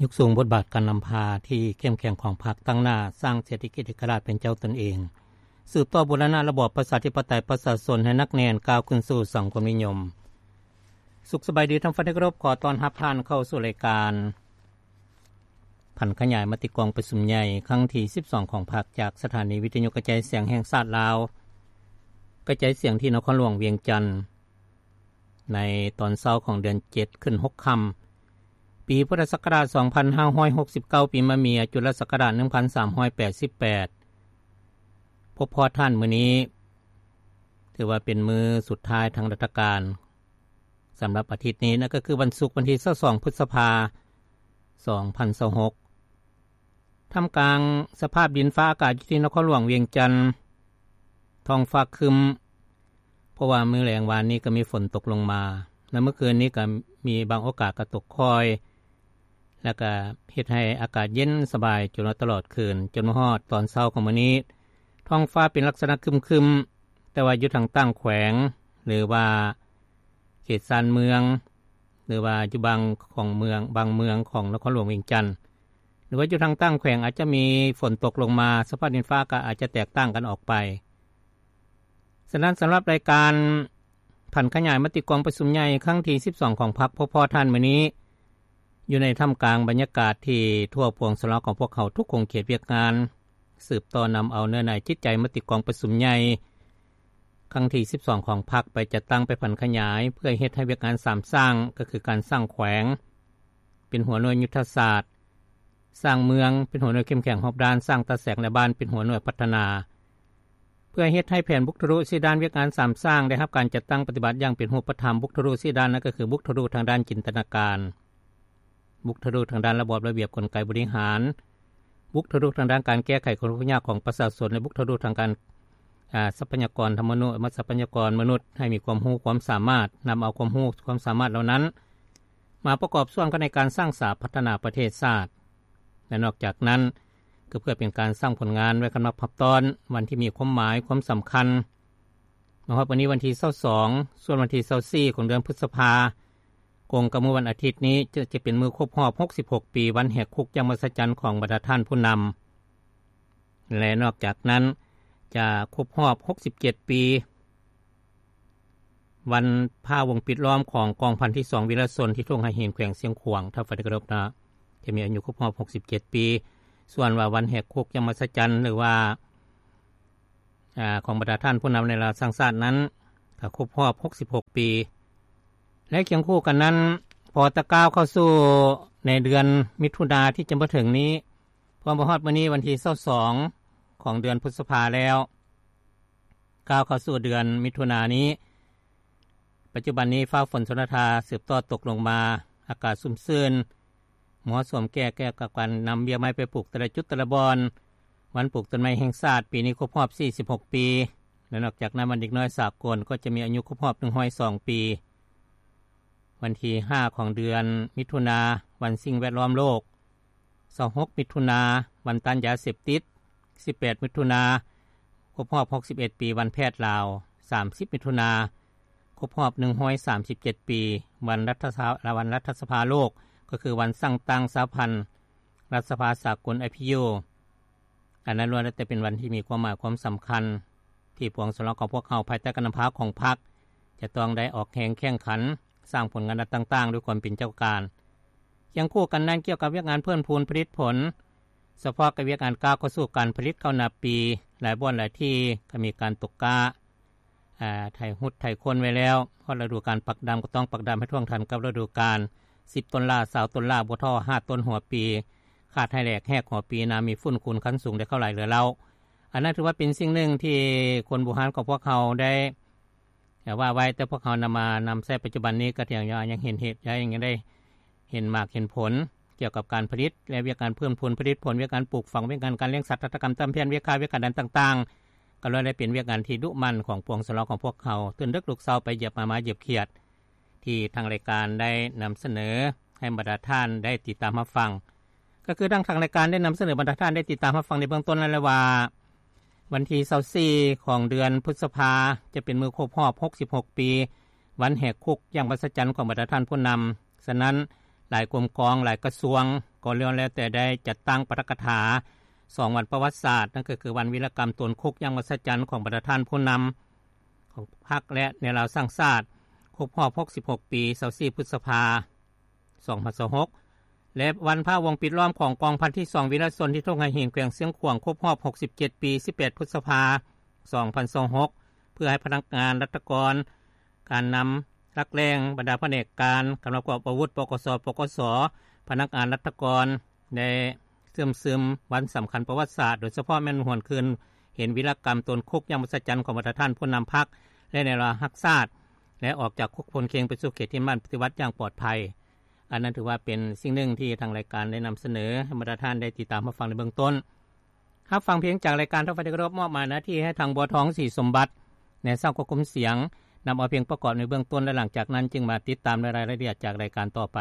ຍົກສູງບົດບາດການນຳພາທີ່ເຂັ້ມແຂງຂອງພັກ, ຕັ້ງໜ້າສ້າງເສດຖະກິດເອກະລາດເປັນເຈົ້າຕົນເອງ, ສືບຕໍ່ບູລະນະລະບອບປະຊາທິປະໄຕປະຊາຊົນໃຫ້ໜັກແໜ້ນ, ກ້າວຂຶ້ນສູ່ສັງຄົມນິຍົມ. ສຸກສະບາຍດີທ່ານຜູ້ຟັງທີ່ເຄົາລົບ, ຂໍຕ້ອນຮັບທ່ານເຂົ້າສູ່ລາຍການຜັນຂະຫຍາຍມະຕິກອງປະຊຸມໃຫຍ່ຄັ້ງທີສິບສອງຂອງພັກ ຈາກສະຖານີວິທະຍຸກະຈາຍສຽງແຫ່ງຊາດລາວ, ກະຈາຍສຽງທີ່ນະຄອນຫຼວງວຽງຈັນ. ໃນຕອນເຊົ້າຂອງເດືອນເຈັດຂຶ້ນຫົກຄ່ຳ ປີພຸດທະສັກກະລາດສອງພັນຫ້າຮ້ອຍຫົກສິບເກົ້າ ປີມະເມຍ ຈຸລະສັກກະລາດໜຶ່ງພັນສາມຮ້ອຍແປດສິບແປດ ພົບພໍ້ທ່ານມື້ນີ້ ຖືວ່າເປັນມື້ສຸດທ້າຍທາງລັດຖະການ ສຳລັບອາທິດນີ້ ນັ້ນກໍຄືວັນສຸກ ວັນທີຊາວສອງ ພຶດສະພາ ສອງພັນຊາວຫົກ. ທ່າມກາງສະພາບດິນຟ້າອາກາດຢູ່ທີ່ນະຄອນຫຼວງວຽງຈັນ ທ້ອງຟ້າຄຶ້ມ ເພາະວ່າມື້ແລງວານນີ້ກໍມີຝົນຕົກລົງມາ ແລະ ເມື່ອຄືນນີ້ກໍມີບາງໂອກາດກໍຕົກຄ່ອຍ ແລະ ກໍເຮັດໃຫ້ອາກາດເຢັນສະບາຍຈົນວ່າຕະຫຼອດຄືນ, ຈົນມາຮອດຕອນເຊົ້າຂອງມື້ນີ້ ທ້ອງຟ້າເປັນລັກສະນະຄຶ້ມໆ ແຕ່ວ່າຢູ່ທາງຕ່າງແຂວງ ຫຼືວ່າເຂດຊານເມືອງ ຫຼືວ່າຢູ່ບາງຂອງເມືອງ, ບາງເມືອງຂອງນະຄອນຫຼວງວຽງຈັນ ຫຼືວ່າຢູ່ທາງຕ່າງແຂວງ ອາດຈະມີຝົນຕົກລົງມາ, ສະພາບດິນຟ້າອາກາດອາດຈະແຕກຕ່າງກັນອອກໄປ. ສະນັ້ນ ສຳລັບລາຍການຜັນຂະຫຍາຍມະຕິກອງປະຊຸມໃຫຍ່ຄັ້ງທີສິບສອງຂອງພັກ ພໍ້ໆທ່ານມື້ນີ້ ຢູ່ໃນທ່າມກາງບັນຍາກາດທີ່ທົ່ວປວງຊົນລາວຂອງພວກເຮົາທຸກຂົງເຂດວຽກງານ ສືບຕໍ່ນຳເອົາເນື້ອໃນຈິດໃຈມະຕິກອງປະຊຸມໃຫຍ່ຄັ້ງທີສິບສອງຂອງພັກ ໄປຈັດຕັ້ງ, ໄປຜັນຂະຫຍາຍ ເພື່ອເຮັດໃຫ້ວຽກງານສາມສ້າງ ກໍຄືການສ້າງແຂວງເປັນຫົວໜ່ວຍຍຸດທະສາດ, ສ້າງເມືອງເປັນຫົວໜ່ວຍເຂັ້ມແຂງຮອບດ້ານ, ສ້າງຕາແສງ ແລະ ບ້ານເປັນຫົວໜ່ວຍພັດທະນາ ເພື່ອເຮັດໃຫ້ແຜນບຸກທະລຸສີ່ດ້ານວຽກງານສາມສ້າງ ໄດ້ຮັບການຈັດຕັ້ງປະຕິບັດຢ່າງເປັນຮູບປະທຳ. ບຸກທະລຸສີ່ດ້ານນັ້ນກໍຄື ບຸກທະລຸທາງດ້ານຈິນຕະນາການ, ບຸກທະລຸທາງດ້ານລະບອບລະບຽບກົນໄກບໍລິຫານ, ບຸກທະລຸທາງດ້ານການແກ້ໄຂຄວາມທຸກຍາກຂອງປະຊາຊົນ ແລະ ບຸກທະລຸທາງການ ອາ ຊັບພະຍາກອນທຳມະນຸດ ແລະ ຊັບພະຍາກອນມະນຸດ ໃຫ້ມີຄວາມຮູ້ຄວາມສາມາດ, ນຳເອົາຄວາມຮູ້ຄວາມສາມາດເຫຼົ່ານັ້ນ ມາປະກອບສ່ວນກັນໃນການສ້າງສາພັດທະນາປະເທດຊາດ ແລະ ນອກຈາກນັ້ນ ກໍເພື່ອເປັນການສ້າງຜົນງານໄວ້ກຳລັບຮັບຕ້ອນວັນທີ່ມີຄວາມໝາຍຄວາມສຳຄັນ. ມາຮອດວັນນີ້ວັນທີຊາວສອງ ສ່ວນວັນທີຊາວສີ່ຂອງເດືອນພຶດສະພາ ກົງກັບມື້ວັນອາທິດນີ້ ຈະ ຈະເປັນມື້ຄົບຮອບຫົກສິບຫົກປີ ວັນແຫກຄຸກຢ່າງມະຫັດສະຈັນຂອງບັນດາທ່ານຜູ້ນຳ ແລະ ນອກຈາກນັ້ນ ຈະຄົບຮອບຫົກສິບເຈັດປີ ວັນພາວົງປິດລ້ອມຂອງກອງພັນທີສອງວິລະຊົນທີ່ທົ່ງໄຫຫີນ ແຂວງຊຽງຂວາງ ທ່ານຜູ້ຟັງທີ່ເຄົາລົບເນາະ ຈະມີອາຍຸຄົບຮອບຫົກສິບເຈັດປີ. ສ່ວນວ່າວັນແຫກຄຸກຢ່າງມະຫັດສະຈັນ ຫຼືວ່າ ອາ ຂອງບັນດາທ່ານຜູ້ນຳໃນລາວສ້າງຊາດນັ້ນ ກໍຄົບຮອບຫົກສິບຫົກປີ ແລະ ຄຽງຄູ່ກັນນັ້ນ ພໍຕະກ້າວເຂົ້າສູ່ໃນເດືອນມິຖຸນາທີ່ຈະມາເຖິງນີ້ ພໍມາຮອດມື້ນີ້ວັນທີຊາວສອງຂອງເດືອນພຶດສະພາແລ້ວ ກ້າວເຂົ້າສູ່ເດືອນມິຖຸນານີ້ ປັດຈຸບັນນີ້ຟ້າຝົນຊົນລະທາສືບຕໍ່ຕົກລົງມາ, ອາກາດຊຸ່ມຊື່ນ, ເໝາະສົມແກ່ ແກ່ກັບການນຳເບ້ຍໄມ້ໄປປູກແຕ່ລະຈຸດແຕ່ລະບ່ອນ. ວັນປູກຕົ້ນໄມ້ແຫ່ງຊາດປີນີ້ຄົບຮອບສີ່ສິບຫົກປີ ແລະ ນອກຈາກນັ້ນ ວັນເດັກນ້ອຍສາກົນກໍຈະມີອາຍຸຄົບຮອບໜຶ່ງຮ້ອຍສອງປີ. ວັນທີຫ້າຂອງເດືອນມິຖຸນາ ວັນສິ່ງແວດລ້ອມໂລກ, ຊາວຫົກມິຖຸນາ ວັນຕ້ານຢາເສບຕິດ, ສິບແປດມິຖຸນາ ຄົບຮອບຫົກສິບເອັດປີ ວັນແພດລາວ, ສາມສິບມິຖຸນາ ຄົບຮອບໜຶ່ງຮ້ອຍສາມສິບເຈັດປີ ວັນລັດຖະສະ ວັນລັດຖະສະພາໂລກ ກໍຄືວັນສ້າງຕັ້ງສະຫະພັນລັດຖະສະພາສາກົນ ໄອພີຢູ. ອັນນັ້ນລ້ວນແລ້ວແຕ່ເປັນວັນທີ່ມີຄວາມໝາຍຄວາມສຳຄັນ ທີ່ປວງຊົນລາວຂອງພວກເຮົາ ພາຍໃຕ້ການນຳພາຂອງພັກ ຈະຕ້ອງໄດ້ອອກແຮງແຂ່ງຂັນ ສ້າງຜົນງານດ້ານຕ່າງໆ ດ້ວຍຄວາມເປັນເຈົ້າການ. ຄຽງຄູ່ກັນນັ້ນ ກ່ຽວກັບວຽກງານເພີ່ມພູນຜະລິດຜົນ, ສະເພາະກັບວຽກງານກ້າວເຂົ້າສູ່ການຜະລິດເຂົ້ານາປີ, ຫຼາຍບ່ອນຫຼາຍທີ່ກໍມີການຕົກກ້າ, ອາ, ໄຖຫຸດໄຖຄົນໄວ້ແລ້ວ, ຮອດລະດູການປັກດຳກໍຕ້ອງປັກດຳໃຫ້ທ່ວງທັນກັບລະດູການ, ສິບຕົ້ນລ້າ, ຊາວຕົ້ນລ້າ, ບໍ່ທໍ້ຫ້າຕົ້ນຫົວປີ, ຂາດໃຫ້ແຫຼກແຮກຫົວປີ, ນາມີຝຸ່ນຂຸນຄັນສູງ ໄດ້ເຂົ້າຫຼາຍເຫຼືອເຫຼົ່າ. ອັນນັ້ນຖືວ່າເປັນສິ່ງໜຶ່ງທີ່ຄົນບູຮານຂອງພວກເຮົາໄດ້ ແຕ່ວ່າໄວ້ແຕ່ພວກເຮົານຳມານຳໃຊ້ປັດຈຸບັນນີ້ ກໍຍັງ ຍັງເຫັນເຫດ ຍັງໄດ້ເຫັນໝາກເຫັນຜົນ ກ່ຽວກັບການຜະລິດ ແລະ ວຽກງານເພີ່ມພູນຜະລິດຜົນ, ວຽກງານປູກຝັງ, ວຽກງານການລ້ຽງສັດ, ຫັດຖະກຳ, ຕຳແຜ່ນ, ວຽກຄ້າ, ວຽກການດ້ານຕ່າງໆ ກໍລ້ວນແລ້ວເປັນວຽກງານທີ່ດຸໝັ່ນຂອງປວງຊົນລາວຂອງພວກເຮົາ, ຕື່ນດຶກລຸກເຊົ້າໄປຢຽບໝາ ໝາຢຽບຂຽດ ທີ່ທາງລາຍການໄດ້ນຳສະເໜີໃຫ້ບັນດາທ່ານໄດ້ຕິດຕາມຮັບຟັງ. ກໍຄືດັ່ງທາງລາຍການໄດ້ນຳສະເໜີບັນດາທ່ານໄດ້ຕິດຕາມຮັບຟັງໃນເບື້ອງຕົ້ນນັ້ນແຫຼະວ່າ ວັນທີຊາວສີ່ຂອງເດືອນພຶດສະພາ ຈະເປັນມື້ຄົບຮອບຫົກສິບຫົກປີ ວັນແຫກຄຸກຢ່າງມະຫັດສະຈັນຂອງບັນດາທ່ານຜູ້ນຳ. ສະນັ້ນ, ຫຼາຍກົມກອງ, ຫຼາຍກະຊວງ ກໍລ້ວນແລ້ວແຕ່ໄດ້ຈັດຕັ້ງປາຖະກະຖາ ສອງວັນປະຫວັດສາດ ນັ້ນກໍຄືວັນວິລະກຳຕົນຄຸກຢ່າງມະຫັດສະຈັນ ຂອງບັນດາທ່ານຜູ້ນຳຂອງພັກ ແລະ ແນວລາວສ້າງຊາດ ຄົບຮອບຫົກສິບຫົກປີ ຊາວສີ່ພຶດສະພາ ສອງພັນຊາວຫົກ ແລະ ວັນພະວົງປິດລ້ອມຂອງກອງພັນທີສອງວິລະຊົນທີ່ທົ່ງໄຫຫີນ ແຂວງຊຽງຂວາງ ຄົບຮອບຫົກສິບເຈັດປີ ສິບແປດພຶດສະພາ ສອງພັນຊາວຫົກ ເພື່ອໃຫ້ພະນັກງານລັດຖະກອນ ການນຳຫຼັກແຫຼ່ງ ບັນດາພະແນກການ ກຳລັງປະກອບອາວຸດ ປກສ ປກສ ພະນັກງານລັດຖະກອນ ໄດ້ເຊື່ອມຊຶມວັນສຳຄັນປະຫວັດສາດ ໂດຍສະເພາະແມ່ນຫວນຄືນເຫັນວິລະກຳຕົນຄຸກຢ່າງມະຫັດສະຈັນຂອງບັນດາທ່ານຜູ້ນຳພັກ ແລະ ແນວລາວຮັກຊາດ ແລະ ອອກຈາກຄຸກພົ້ນເຄັງໄປສູ່ເຂດທີ່ໝັ້ນປະຕິວັດຢ່າງປອດໄພ. ອັນນັ້ນຖືວ່າເປັນສິ່ງໜຶ່ງທີ່ທາງລາຍການໄດ້ນຳສະເໜີໃຫ້ບັນດາທ່ານໄດ້ຕິດຕາມຮັບຟັງໃນເບື້ອງຕົ້ນ. ຮັບຟັງເພງຈາກລາຍການ ທ່ານຜູ້ຟັງທີ່ເຄົາລົບ ມອບໝາຍໜ້າທີ່ໃຫ້ທາງ ບົວທອງ ສີສົມບັດ ໃນຊ່າງຄວບຄຸມສຽງ ນຳເອົາເພງປະກອບໃນເບື້ອງຕົ້ນ ແລະ ຫຼັງຈາກນັ້ນຈຶ່ງມາຕິດຕາມລາຍລະອຽດຈາກລາຍການຕໍ່ໄປ.